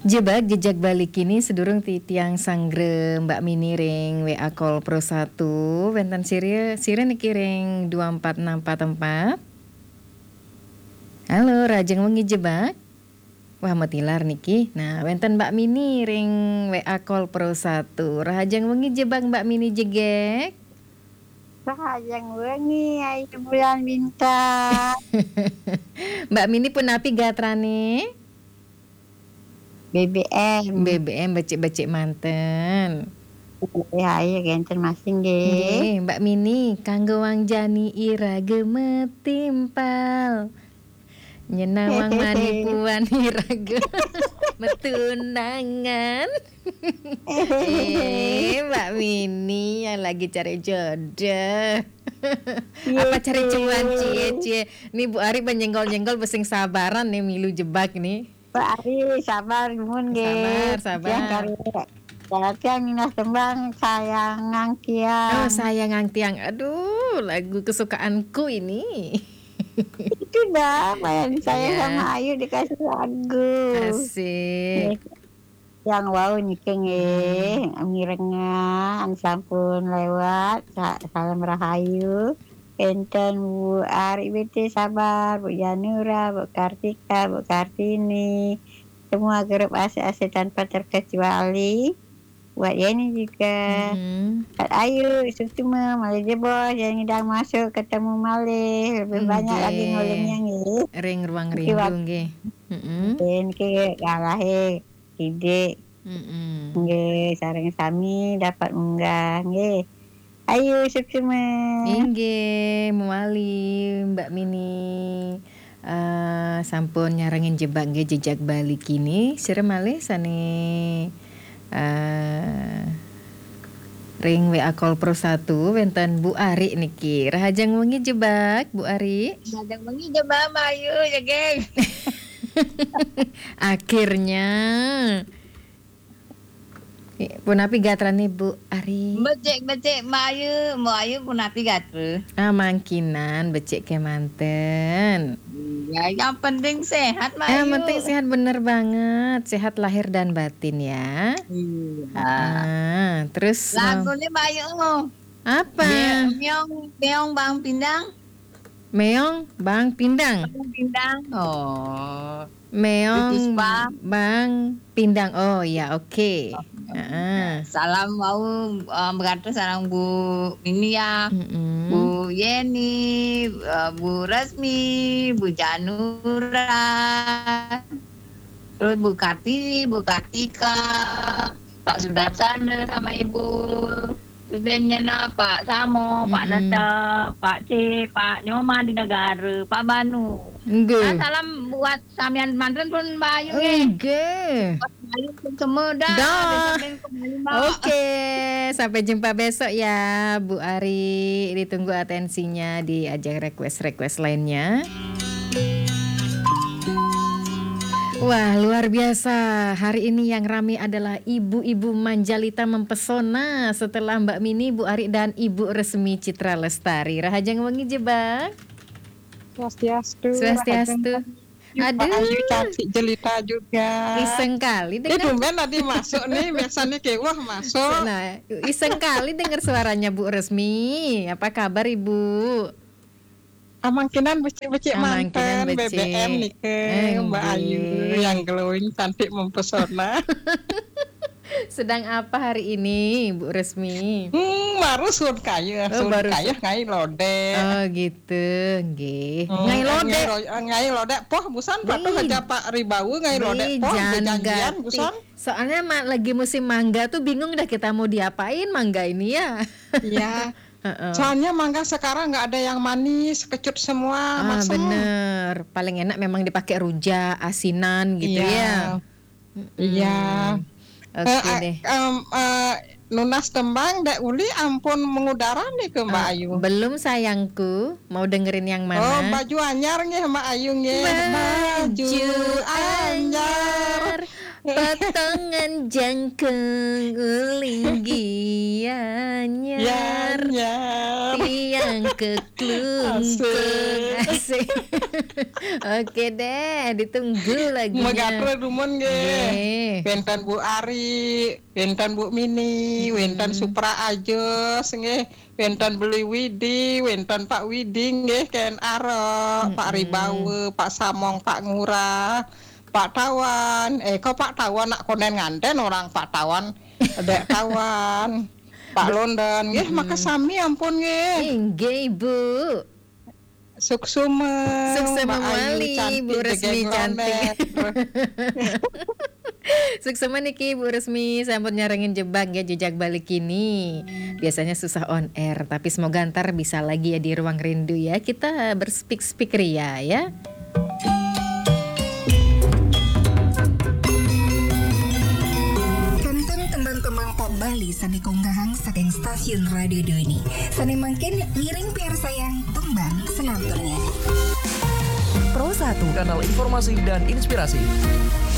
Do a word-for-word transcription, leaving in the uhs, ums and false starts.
Jebak jejak bali kini sedurung titiang sanggra Mbak Mini ring W A Call Pro satu, wénten sira, sira niki ring dua empat enam empat empat. Halo, rahajeng wengi jebak. Wah, matilar niki. Nah, wénten Mbak Mini ring W A Call Pro satu. Rahajeng wengi jebak Mbak Mini jegég. Rahajeng wengi, Ayu Bulan Bintang. Mbak Mini punapi gatrané? B B M. B B M becik-becik manten. Ya, iya, genten masing, nggih. Nggih, Mbak Mini, kanggo wang jani iraga metimpal. Nyenawang mani puan iraga metunangan. Eh, Mbak Mini yang lagi cari jodoh. Iya, apa cari cuan, cie, cie? Nih, Bu Ari menyenggol-nyenggol, besing sabaran nih, milu jebak nih. Bu Ari, sabar, nuwun, nggih. Sabar, sabar. Tiang kari, ya, tiang minah tembang Sayang Ngang Tiang. Oh, Sayang Ngang Tiang. Aduh, lagu kesukaanku ini. Itu dah, main saya sama Ayu dikasih lagu. Asik. Nggih. Yang wau niki nggih, mirengang sampun lewat. Sa-, salam rahayu. Enten Bu Ari B T Sabar, Bu Janura, Bu Kartika, Bu Kartini. Semua grup asik-asik tanpa terkecuali. Buat Yeni juga. Mm-mm. Buat Ayu, Suksma, malih jebos, yang ngidang masuk, ketemu malih. Lebih banyak lagi nggih. Nulungnya nggih. Ring ruang niki rindu wak-, nggih. Mm-mm. Nggih, niki ngalahe. Sidik. Mm-mm. Nggih, sareng sami dapat munggah, nggih. Ayu, Suksma. Inggih, mewali, Mbak Mini. Eh, sampun nyarengin jebak nggih, jejak bali kini. Sira malih sane, eh, ring W A Call Pro satu, wenten Bu Ari niki. Rahajeng wengi jebak, Bu Ari. Rahajeng wengi jebak, Mbak Ayu, ya, geng. Akhirnya. Punapi gatrane Bu Ari? Becik, becik, Mbak Ayu. Mbak Ayu punapi gatra? Ah, mangkinan becik kemanten. Iya, yang penting sehat, Mbak Ayu. Yang penting sehat, bener banget. Sehat lahir dan batin ya. Iya. Ah, terus, lagune Mbak Ayu. Apa? Meong, meong Bang Pindang. Meong Bang Pindang. Bang Pindang. Oh. Meong Bang Pindang. Oh, ya, oke. Heeh. Salam wau, eh, berantos sareng Bu Mini ya. Mm-mm. Bu Yeni, eh, Bu Resmi, Bu Janura. Terus Bu Kartini, Bu Kartika, Pak Sudarsana sama Ibu. Terus nyena Pak Samo, Pak Neta, Pak C, Pak Nyoman di Negara, Pak Banu. Nggih. Ah, salam buat samian manten pun, Mbak Ayu, nggih. Nggih. Buat Mbak Ayu pun semua dah. Dah. Besok minggu kembali, Mbak. Oke, sampai jumpa besok ya, Bu Ari. Ditunggu atensinya di ajang request-request lainnya. Wah, luar biasa. Hari ini yang rame adalah ibu-ibu manjalita mempesona setelah Mbak Mini, Bu Ari, dan Ibu Resmi Citra Lestari. Rahajeng wengi jebak. Swastiastu. Swastiastu. Rahajeng wengi. Aduh. Pak Ayu cantik jelita juga. Iseng kali. Eh, dengar. Tumben tadi masuk nih, biasanya kayak, wah, masuk. Nah, iseng kali dengar suaranya Bu Resmi. Apa kabar, Ibu? Amangkinan becik-becik manten, B B M becik. Nike, Mbak Ayu, nggih. Yang glowing, cantik, mempesona. Sedang apa hari ini, Bu Resmi? Hmm, baru sun kayuh, oh, sun baru kayuh sun- ngai lodek. Oh, gitu, nggih. Hmm, ngai lodek. Ngai lo-, ngai lodek, poh, busan, patuh aja Pak Ribau, ngai lodek, poh, bejanjian, busan. Soalnya ma-, lagi musim mangga tuh bingung dah kita mau diapain mangga ini ya. Iya. Heeh. Soalnya mangga sekarang nggak ada yang manis, kecut semua, masem. Ah, bener. Paling enak memang dipakai rujak, asinan gitu ya. Iya. Mm-mm. Iya. Oke deh. Eh, eh, em, eh, nunas tembang, Dek Uli ampun mengudara nih ke Mbak Ayu. Eh, belum sayangku, mau dengerin yang mana? Oh, baju anyar nggih Mbak Ayu nggih. Baju anyar. Potongan jangkung uling gianyar. Gianyar. Tiang keklungkung. Asik. Oke deh, ditunggu lagunya. Megatrol dumun nggih. Nggih. Wénten Bu Ari, wénten Bu Mini, wénten Supra Ajos nggih, wénten Beli Widi, wénten Pak Widi nggih, kén arok, Pak Ribawa, Pak Samong, Pak Ngurah, Pak Tawan. Eh, kok Pak Tawan nak konden nganten orang Pak Tawan. Dék Tawan. Pak London nggih, makasami ampun nggih. Inggih, Bu. Suksema, Suksema Mbak Ayu mawali, Bu Resmi jegég cantik. London. Suksema niki Bu Resmi, sampun nyarengin jebak ya, jejak balik ini. Biasanya susah on air, tapi semoga ntar bisa lagi ya di ruang rindu ya. Kita berspeak-speak ria ya. Kantun tembang-tembang pop Bali sané kaunggahang saking stasiun Radio Doni. Sané mangkin ngiring piarsayang tembang selanturnya. Pro satu, kanal informasi dan inspirasi.